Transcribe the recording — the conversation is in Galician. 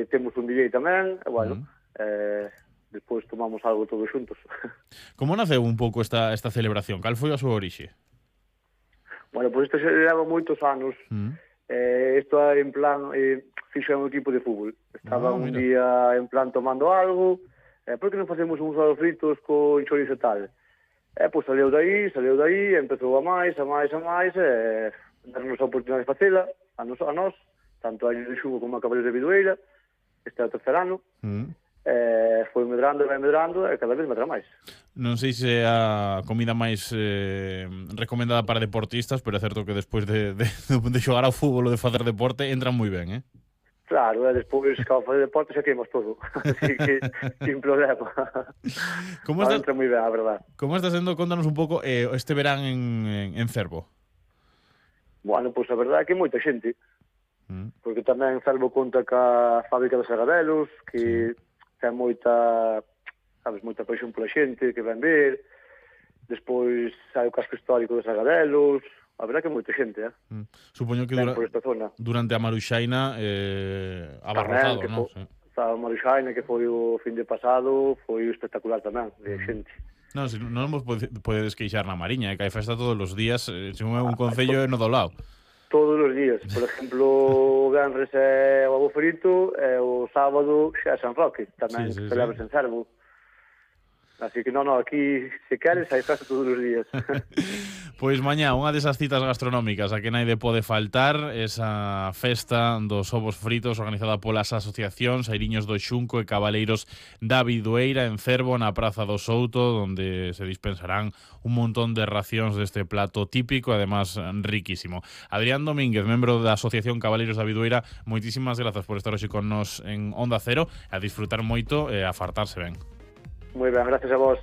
temos un DJ tamén, e bueno, despois tomamos algo todos xuntos. Como naceu un pouco esta celebración? Cal foi a súa orixe? Bueno, pois isto xa leva moitos anos. Isto é en plan, fixo un equipo de fútbol. Estaba un día en plan tomando algo, por que non facemos uns ovos fritos con chorizo e tal? Pois saleu daí, empezou a máis, darnos a oportunidade de facela, a nós, tanto a Año de Xugo como a Cabaleiros de Bidueira, este é o tercer ano, foi medrando, e cada vez medra máis. Non sei se é a comida máis recomendada para deportistas, pero é certo que despois de xogar ao fútbol ou de facer deporte, entran moi ben, Claro, despois, ao facer deporte, xa queimos todo. Así que, sin problema. Entra moi ben, a verdade. Como está sendo, contanos un pouco, este verán en Cervo? Bueno, pois a verdade é que moita xente. Porque tamén Cervo conta ca fábrica de Sagadelos, que ten moita paixón pola xente, que ven ver. Despois hai o casco histórico de Sagadelos. A verdade é que moita xente, Supoño que por esta zona. Durante a Maruxaina abarrotado, non? A Maruxaina, que foi o fin de pasado, foi espectacular tamén, de xente. Non, se non vos podedes queixar na Mariña, que hai festa todos os días, se non é un concello é no do lado. Todos os días. Por exemplo, o venres é o ovo frito e o sábado xa é San Roque, tamén celebras en Cervo. Así que non, aquí se queres hai festa todos os días. Pois mañá, unha desas citas gastronómicas a que naide pode faltar, esa festa dos ovos fritos organizada polas asociacións Airiños do Xunco e Cabaleiros da Bidueira en Cervo, na Praza do Souto, onde se dispensarán un montón de racións deste plato típico, además riquísimo. Adrián Domínguez, membro da Asociación Cabaleiros da Bidueira, moitísimas grazas por estar hoxe con nos en Onda Cero, a disfrutar moito e a fartarse ben. Moi ben, gracias a vos.